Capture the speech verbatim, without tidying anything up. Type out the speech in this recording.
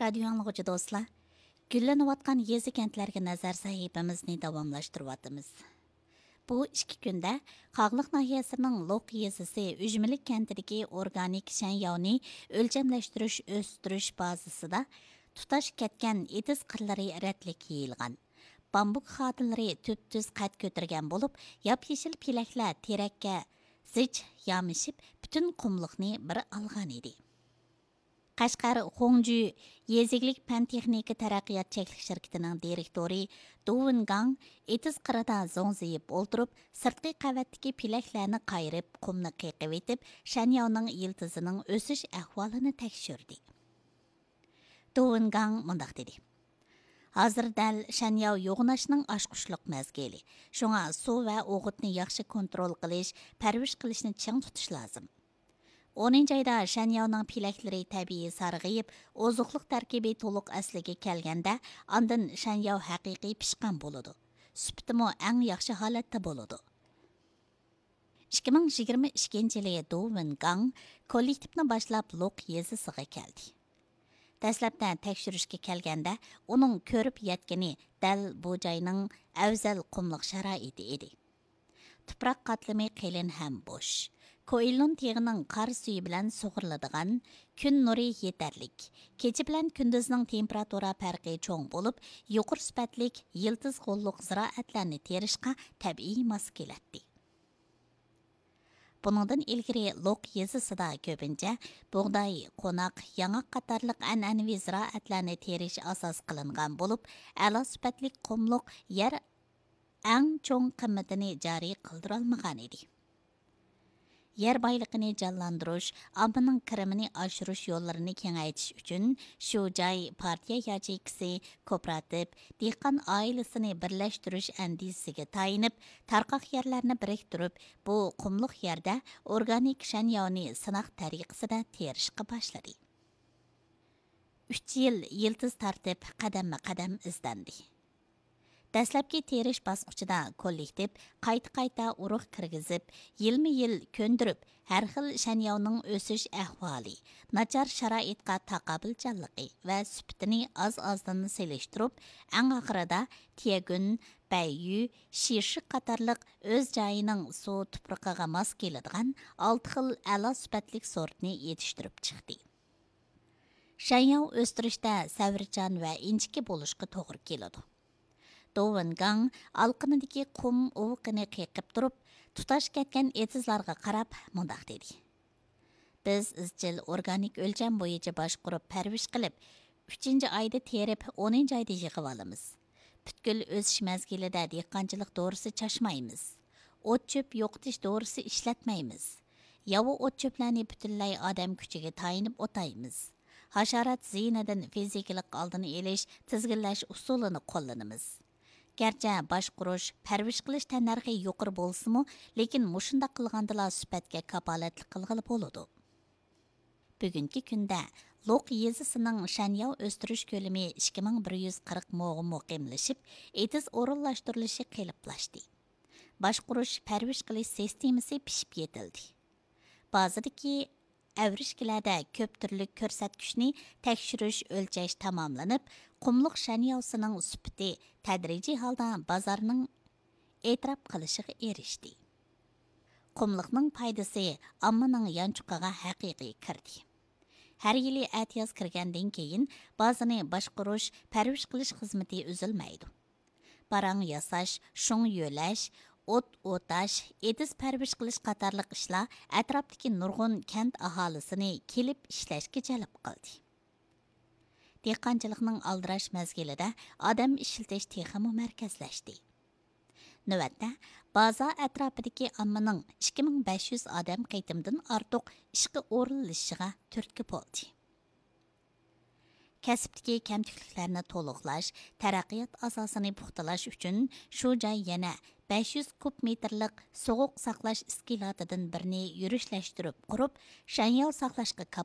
رادىيو ئاڭلىغۇچى دوستلار، گۈللىنىۋاتقان يېزا-كەنتلەرگە نەزەر سەھىپىمىزنى داۋاملاشتۇرۇۋاتىمىز. بۇ ئىككى كۈندە قاغلىق ناھىيەسىنىڭ لوق يېزىسى ئۈجمىلىك كەنتىدىكى ئورگانىك شەنياۋنى ئۆلچەملەشتۈرۈش، ئۆستۈرۈش بازىسىدا تۇتاش كەتكەن ئېتىز قىرلىرى رەتلىك يېيىلغان، بامبۇك خادىلىرى تۈپتۈز قەد كۆتۈرگەن بولۇپ، ياپيېشىل پېلەكلەر تېرەككە زىچ يامىشىپ، پۈتۈن قۇملۇقنى بىر ئالغان ئىدى. قەشقەر خۇڭجۈ يېزا ئىگىلىك پەن تېخنىكا تەرەققىيات چەكلىك شىركىتىنىڭ دىرېكتورى دۇ ۋېنگاڭ ئېتىز قىرىدا زوڭزىيىپ ئولتۇرۇپ، سىرتقى قەۋەتتىكى پېلەكلەرنى قايرىپ، قۇمنى قېقىۋېتىپ، شەنياۋنىڭ يىلتىزىنىڭ ئۆسۈش ئەھۋالىنى تەكشۈردى. دۇ ۋېنگاڭ مۇنداق دېدى: ھازىر دەل شەنياۋ يوغىناشنىڭ ئاچقۇچلۇق مەزگىلى. شۇڭا سۇ ۋە ئوغۇتنى ياخشى كونترول قىلىش، پەرۋىش قىلىشنى چىڭ تۇتۇش لازىم. ئونىنچى ئايدا شەنياۋنىڭ پېلەكلىرى تەبىئىي سارغىيىپ، ئوزۇقلۇق تەركىبى تولۇق ئەسلىگە كەلگەندە، ئاندىن شەنياۋ ھەقىقىي پىشقان بولىدۇ. سۈپىتىمۇ ئەڭ ياخشى ھالەتتە بولىدۇ. ئىككى مىڭ يىگىرمە ئىككىنچى يىلى دۇ ۋېنگاڭ كوللېكتىپنى باشلاپ لوق يېزىسىغا كەلدى. دەسلەپتە تەكشۈرۈشكە كەلگەندە، ئۇنىڭ كۆرۈپ يەتكىنى دەل بۇ جاينىڭ ئەۋزەل قۇملۇق شارائىتى ئىدى. تۇپراق قاتلىمى قېلىن ھەم بوش. كوئىلۇن تېغىنىڭ قار سۈيى بىلەن سۇغۇرۇلىدىغان، كۈن نۇرى يېتەرلىك. كېچە بىلەن كۈندۈزنىڭ تېمپېراتۇرا پەرقى چوڭ بولۇپ، يۇقىرى سۈپەتلىك يىلتىز غوللۇق زىرائەتلەرنى تېرىشقا تەبىئىي ماس كېلەتتى. بۇنىڭدىن ئىلگىرى لوق يېزىسىدا كۆپىنچە بۇغداي، قوناق، ياڭاق قاتارلىق ئەنئەنىۋى زىرائەتلەرنى تېرىش ئاساس قىلىنغان بولۇپ، ئەلا سۈپەتلىك قۇملۇق يەر ئەڭ چوڭ قىممىتىنى جارى قىلدۇرالمىغانىدى. يەر بايلىقىنى جانلاندۇرۇش، ئاممىنىڭ كىرىمىنى ئاشۇرۇش يوللىرىنى كېڭەيتىش ئۈچۈن شۇ جاي پارتىيە ياچېيكىسى، كوپىراتىپ، دېھقان ئائىلىسىنى بىرلەشتۈرۈش ئەندىزىسىگە تايىنىپ، تارقاق يەرلەرنى بىرىكتۈرۈپ، بۇ قۇملۇق يەردە ئورگانىك شەنياۋنى سىناق تەرىقىسىدە تېرىشقا باشلىدى. ئۈچ يىل يىلتىز تارتىپ، قەدەممۇ قەدەم ئىزدەندى. دەسلەپكى تېرىش باسقۇچىدا كوللېكتىپ قايتا-قايتا ئۇرۇق كىرگۈزۈپ، يىلمۇ يىل كۆندۈرۈپ، ھەر خىل شەنياۋنىڭ ئۆسۈش ئەھۋالى، ناچار شارائىتقا تاقابىلچانلىقى ۋە سۈپىتىنى ئاز-ئازدىن سېلىشتۇرۇپ، ئەڭ ئاخىرىدا تيەگۈن، بەييۈ، شىشى قاتارلىق ئۆز جايىنىڭ سۇ تۇپرىقىغا ماس كېلىدىغان ئالتە خىل ئەلا سۈپەتلىك سورتنى يېتىشتۈرۈپ چىقتى. شەنياۋ ئۆستۈرۈشتە سەۋرچان ۋە ئىنچىكە بولۇشقا توغرا كېلىدۇ. دو ۋېنگاڭ ئالىقىنىدىكى قۇم ئۇۋىقىنى قېقىپ تۇرۇپ، تۇتاش كەتكەن ئېتىزلارغا قاراپ مۇنداق دېدى: بىز ئىزچىل ئورگانىك ئۆلچەم بويىچە باشقۇرۇپ پەرۋىش قىلىپ، ئۈچىنچى ئايدا تېرىپ، ئونىنچى ئايدا يىغىۋالىمىز. پۈتكۈل ئۆسۈش مەزگىلىدە دېھقانچىلىق دورىسى چاچمايمىز. ئوت-چۆپ يوقىتىش دورىسى ئىشلەتمەيمىز. ياۋا ئوت-چۆپلەرنى پۈتۈنلەي ئادەم كۈچىگە تايىنىپ ئوتايمىز. ھاشارات زىيىنىدىن فىزىكىلىق ئالدىنى ئېلىش، تىزگىنلەش ئۇسۇلىنى قوللىنىمىز. گەرچە باشقۇرۇش، پەرۋىش قىلىش تەننەرخى يۇقىرى بولسىمۇ، لېكىن مۇشۇنداق قىلغاندىلا سۈپەتكە كاپالەتلىك قىلغىلى بولىدۇ. بۈگۈنكى كۈندە لوق يېزىسىنىڭ شەنياۋ ئۆستۈرۈش كۆلىمى ئىككى مىڭ بىر يۈز قىرىق موغا مۇقىملىشىپ، ئېتىز ئورۇنلاشتۇرۇلۇشى قېلىپلاشتى. باشقۇرۇش، پەرۋىش قىلىش سىستېمىسى پىشىپ يېتىلدى. بازىدىكى ئەۋرىشكىلەردە كۆپ تۈرلۈك كۆرسەتكۈچنى تەكشۈرۈش، ئۆلچەش تاماملىنىپ، قۇملۇق شەنياۋسىنىڭ سۈپىتى تەدرىجىي ھالدا بازارنىڭ ئېتىراپ قىلىشىغا ئېرىشتى. قۇملۇقنىڭ پايدىسى ئاممىنىڭ يانچۇقىغا ھەقىقىي كىردى. ھەر يىلى ئەتىياز كىرگەندىن كېيىن بازىنى باشقۇرۇش، پەرۋىش قىلىش خىزمىتى ئۈزۈلمەيدۇ. باراڭ ياساش، شۇڭ يۆلەش، ئوت ئوتاش، ئېتىز پەرۋىش قىلىش قاتارلىق ئىشلار ئەتراپتىكى نۇرغۇن كەنت ئاھالىسىنى كېلىپ ئىشلەشكە جەلپ قىلدى. دېھقانچىلىقنىڭ ئالدىراش مەزگىلىدە ئادەم ئىشلىتىش تېخىمۇ مەركەزلەشتى. نۆۋەتتە، بازا ئەتراپىدىكى ئاممىنىڭ ئىككى مىڭ بەش يۈز ئادەم قېتىمدىن ئارتۇق ئىشقا ئورۇنلىشىشىغا تۈرتكە بولدى. كەسىپتىكى كەمتۈكلۈكلەرنى تولۇقلاش، تەرەققىيات ئاساسىنى پۇختىلاش ئۈچۈن شۇ جاي يەنە بەش يۈز كۇب مېتىرلىق سوغۇق ساقلاش ئىسكىلاتىدىن بىرنى يۈرۈشلەشتۈرۈپ قۇرۇپ، شەنياۋ ساقلاشقا